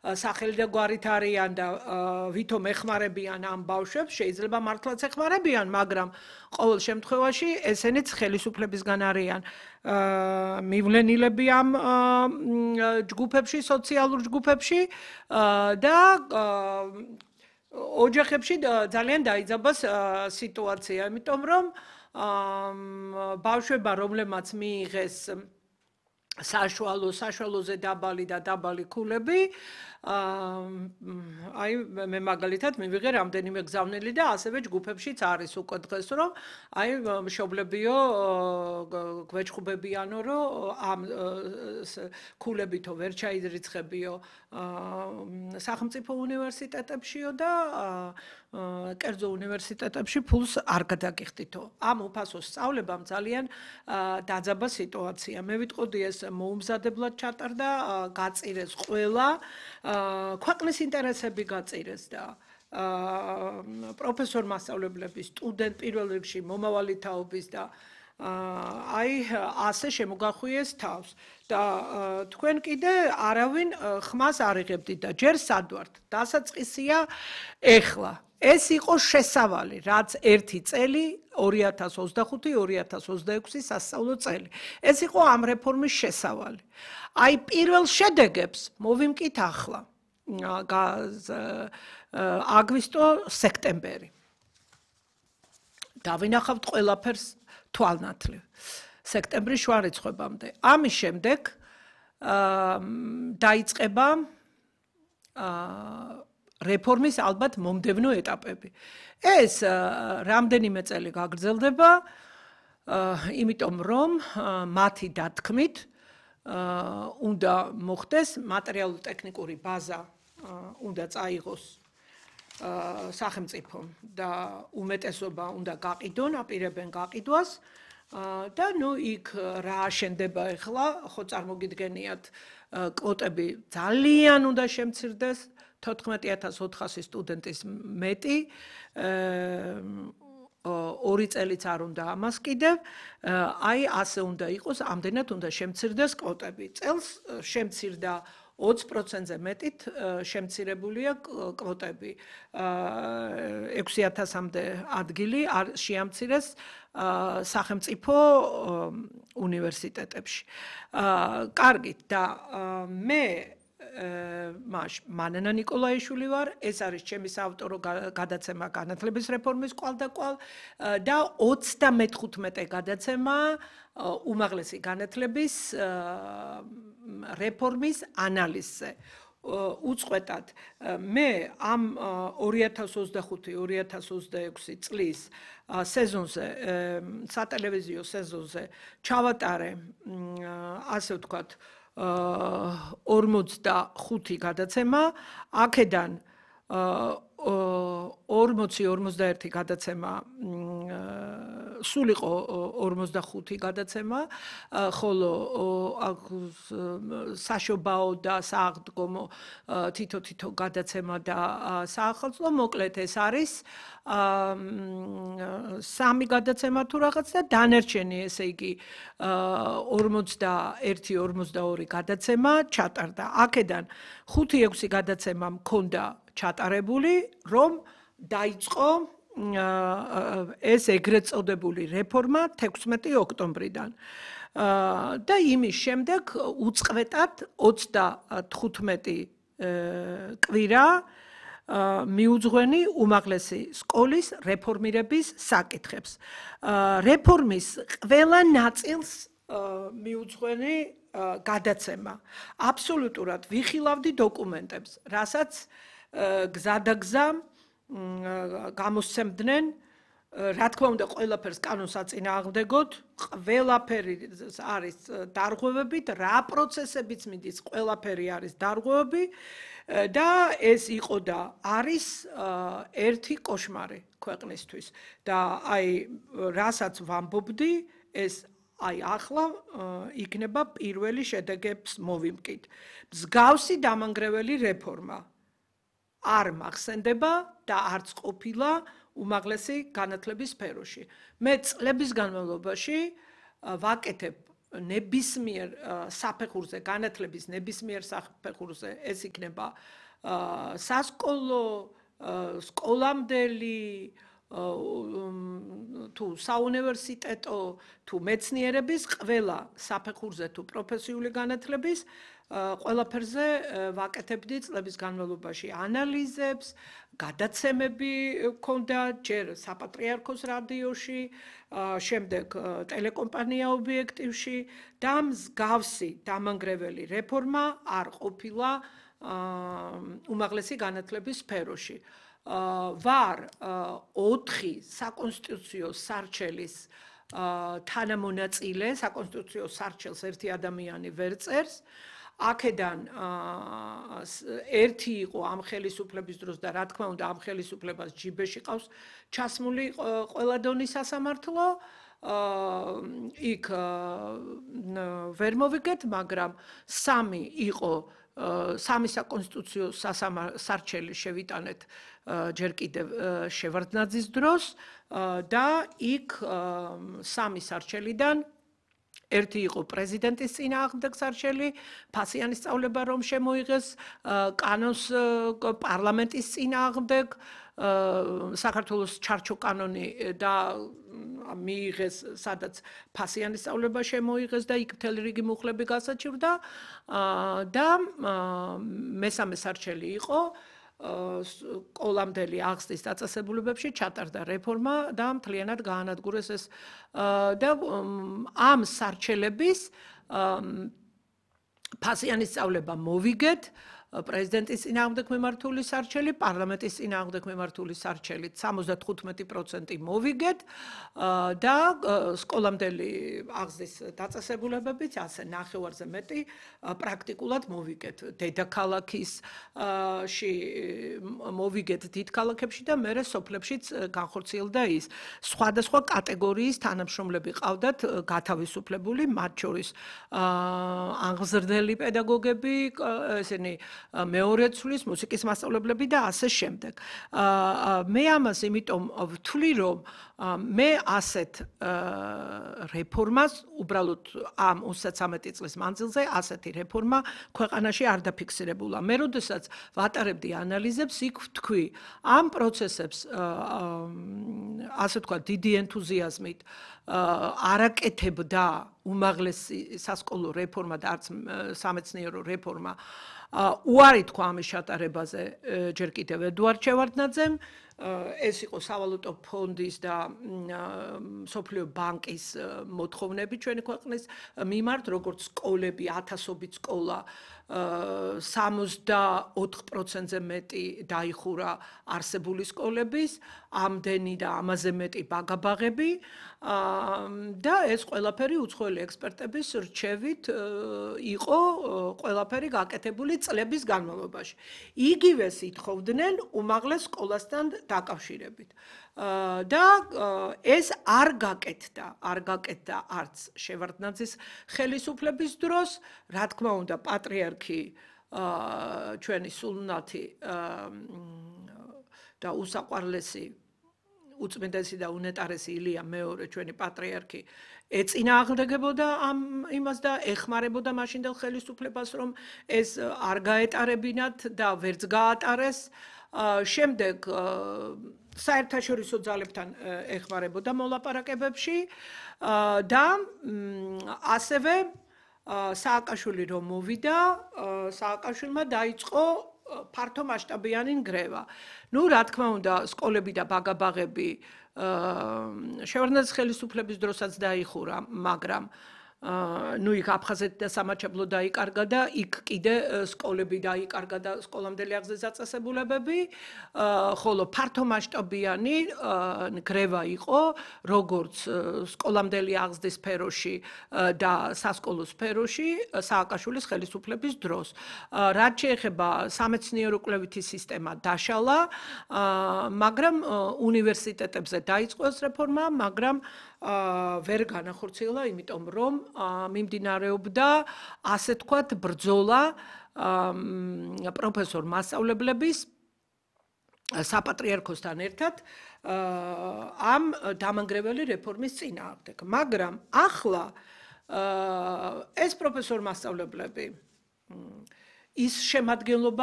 სახელი და გვარით არიან და ვითომ ეხმარებიან ამ ბავშვებს, შეიძლება მართლაც ეხმარებიან, მაგრამ ყოველ შემთხვევაში ესენიც ხელისუფლებისგან არიან მივლენილები ამ ჯგუფებში, სოციალურ ჯგუფებში და ოჯახებში ძალიან დაიძაბას სიტუაცია, იმიტომ რომ ბავშვებმა, რომლებმაც მიიღეს საშუალოზე დაბალი და დაბალი ქულები, აი მე მაგალითად მივიღე რამდენიმე გზავნილი და ასევე ჯგუფებშიც არის უკვე დღეს, რომ აი მშობლებიო გვეჭხუბებიანო, რომ ამ ქულებითო ვერ ჩაირიცხებიო სახელმწიფო უნივერსიტეტებშიო და კერძო უნივერსიტეტებში ფულს არ გადაგიხდითო. ამ უფასო სწავლებამ ძალიან დაძაბა სიტუაცია. მე ვიტყოდი ეს მოუმზადებლად ჩატარდა, გაწირეს ყველა, ქვეყნის ინტერესები გაწირეს და პროფესორ მასწავლებლების, სტუდენტ პირველ რიგში მომავალი თაობის და აი ასე შემოგახვიეს თავს და თქვენ კიდე არავინ ხმას არ იღებდით და ჯერ სად ვართ? დასაწყისია ეხლა. ეს იყო შესავალი, რაც ერთი წელი 2025-2026 სასწავლო წელი. ეს იყო ამ რეფორმის შესავალი. აი პირველ შედეგებს მოვიმკით ახლა. აგვისტო-სექტემბერი. დავინახავთ ყველაფერს თვალნათლივ. სექტემბრის შუა რიცხვებამდე. ამის შემდეგ დაიწყება რეფორმის ალბათ მომდევნო ეტაპები. ეს რამდენიმე წელი გაგრძელდება, იმიტომ რომ მათი დათქმით უნდა მოხდეს მატერიალურ-ტექნიკური ბაზა უნდა წაიღოს სახელმწიფომ და უმეტესობა უნდა გაყიდონ, აპირებენ გაყიდვას და ნუ იქ რა აშენდება ახლა, ხო წარმოგიდგენიათ კვოტები ძალიან უნდა შემცირდეს 14400 სტუდენტის მეტი 2 წელიც არ უნდა ამას კიდევ, აი ასე უნდა იყოს, ამდენად უნდა შემცირდეს კვოტები. წელს შემცირდა 20%-ზე მეტით შემცირებულია კვოტები. 6000-მდე ადგილი შეამცირეს სახელმწიფო უნივერსიტეტებში. კარგით და მე მანანა ნიკოლაიშვილი ვარ, ეს არის ჩემი საავტორო გადაცემა განათლების რეფორმის კვალდაკვალ და 35 გადაცემა უმაღლესი განათლების რეფორმის ანალიზზე. უწყვეტად მე ამ 2025-2026 წლის სეზონზე, სატელევიზიო სეზონზე ჩავატარე, ასე ვთქვათ, 45 გადაცემა, აქედან 40-41 გადაცემა სულ იყო 45 გადაცემა, ხოლო საშობაო და სააღდგომო თითო გადაცემა და საახალწლო, მოკლედ ეს არის 3 გადაცემა თუ რაღაც და დანარჩენი, ესე იგი 41-42 გადაცემა ჩატარდა. აქედან 5-6 გადაცემა მქონდა ჩატარებული, რომ დაიწყო ეს ეგრეთ წოდებული რეფორმა 16 ოქტომბრიდან. და იმის შემდეგ უწყვეტად 35 კვირა მიუძღვენი უმაღლესი სკოლის რეფორმირების საკითხებს. რეფორმის ყველა ნაწილს მიუძღვენი გადაცემა. აბსოლუტურად ვიხილავდი დოკუმენტებს, რასაც გზადაგზა გამოსცემდნენ, რა თქმა უნდა, ყველაფერს კანონს აწინააღმდეგოთ, ყველაფერი არის დარღვევებით, რა პროცესებიც მიდის, ყველაფერი არის დარღვევები და ეს იყო და არის ერთი კოშმარი ქვეყნისთვის. და აი, რასაც ვამბობდი, ეს აი ახლა იქნება პირველი შედეგებს მოვიმკით. მსგავსი დამანგრეველი რეფორმა არ მახსენდება და არც ყოფილა უმაღლესი განათლების სფეროში. მე წლების განმავლობაში ვაკეთებ ნებისმიერ საფეხურზე, განათლების ნებისმიერ საფეხურზე ეს იქნება სასკოლო, სკოლამდელი თუ საუნივერსიტეტო თუ მეცნიერების ყველა საფეხურზე თუ პროფესიული განათლების ყველაფერზე ვაკეთებდი წლების განმავლობაში ანალიზებს, გადაცემები მქონდა ჯერ საპატრიარქოს რადიოში, შემდეგ ტელეკომპანია ობიექტივში და მსგავსი დამანგრეველი რეფორმა არ ყოფილა უმაღლესი განათლების სფეროში. ვარ 4 საკონსტიტუციო სარჩელის თანამონაწილე, საკონსტიტუციო სარჩელს ერთი ადამიანი ვერ წერს. აქედან ერთი იყო ამ ხელისუფლების დროს და რა თქმა უნდა ამ ხელისუფლებას ჯიბეში ყავს ჩასმული ყველა დონის სასამართლო. იქ ვერ მოვიგეთ, მაგრამ 3 იყო სამი საკონსტიტუციო სარჩელი შევიტანეთ ჯერ კიდევ შევარდნაძის დროს და იქ 3 სარჩელიდან ერთი იყო პრეზიდენტის წინააღმდეგ სარჩელი, ფასიანის სწავლება რომ შემოიღეს, კანონს პარლამენტის წინააღმდეგ, საქართველოს ჩარჩო კანონი და მიიღეს, სადაც ფასიანის სწავლება შემოიღეს და იქ მთელი რიგი მუხლები გასაჩივრდა და მესამე სარჩელი იყო სკოლამდელი აღზრდის დაწესებულებებში ჩატარდა რეფორმა და მთლიანად გაანადგურეს ეს და ამ სარჩელების ფასიანის სწავლება მოვიგეთ პრეზიდენტის წინააღმდეგ მიმართული სარჩელი, პარლამენტის წინააღმდეგ მიმართული სარჩელით 75% მოვიგეთ და სკოლამდელი აღზრდის დაწესებულებებით ასე ნახევარზე მეტი პრაქტიკულად მოვიგეთ. დედაქალაქში მოვიგეთ დიდ ქალაქებში და მერე სოფლებშიც განხორციელდა ის. სხვადასხვა კატეგორიის თანამშრომლები ყავდათ გათავისუფლებული, მათ შორის აღზრდელი პედაგოგები, ესენი მეორე ცვლის მუსიკის მასწავლებლები და ასე შემდეგ. მე ამას იმიტომ ვთვლი, რომ მე ასეთ რეფორმას უბრალოდ ამ 33 წლის მანძილზე ასეთი რეფორმა ქვეყანაში არ დაფიქსირებულა. მე როდესაც ვატარებდი ანალიზებს, იქ ვთქვი, ამ პროცესებს ასე თქვა დიდი ენთუზიაზმით არაკეთებდა უმაღლესი სასკოლო რეფორმა და არც სამეცნიერო რეფორმა უარი თქვა ამის ჩატარებაზე ჯერ კიდევ ედუარდ შევარდნაძემ. ეს იყო სავალუტო ფონდის და მსოფლიო ბანკის მოთხოვნები ჩვენი ქვეყნის მიმართ, როგორც სკოლები, ათასობით სკოლა 64%-ზე მეტი დაიხურა არსებული სკოლების, ამდენი და ამაზე მეტი ბაგაბაღები და ეს ყველაფერი უცხოელი ექსპერტების რჩევით იყო ყველაფერი გაკეთებული წლების განმავლობაში. იგივეს ითხოვდნენ უმაღლეს სკოლასთან დაკავშირებით. და ეს არ გაკეთდა არც შევარდნაძის ხელისუფლების დროს, რა თქმა უნდა, პატრიარქი ჩვენი სულუნათი და უსაყვარლესი უწმიდესი და უნეტარესი ილია მეორე ჩვენი პატრიარქი ეწინააღმდეგებოდა ამ იმას და ეხმარებოდა მაშინდელ ხელისუფლებას, რომ ეს არ გაეტარებინათ და ვერც გაატარეს. შემდეგ საერთაშორისო ძალებთან ეხმარებოდა მოლაპარაკებებში და ასევე სააკაშვილი რომ მოვიდა, სააკაშვილმა დაიწყო ფართო მასშტაბიანი ნგრევა. ნუ რა თქმა უნდა, სკოლები და ბაგაბაღები შევარდნაძის ხელისუფლების დროსაც დაიხურა, მაგრამ ნუ იქ აფხაზეთი და სამაჩაბლო დაიკარგა და იქ კიდე სკოლები დაიკარგა და სკოლამდელი აღზრდის დაწესებულებები, ხოლო ფართო მასშტაბიანი ნგრევა იყო, როგორც სკოლამდელი აღზრდის სფეროში და სასკოლო სფეროში სააკაშვილის ხელისუფლების დროს. რაც შეეხება სამეცნიერო კვლევითი სისტემა დაშალა, მაგრამ უნივერსიტეტებზე დაიწყო ეს რეფორმა, მაგრამ ვერ განახორციელა, იმიტომ რომ მიმდინარეობდა ასე თქვათ ბრძოლა პროფესორ მასწავლებლების საპატრიარქოსთან ერთად ამ დამანგრეველი რეფორმის წინააღმდეგ. მაგრამ ახლა ეს პროფესორ მასწავლებლები ის შემადგენლობა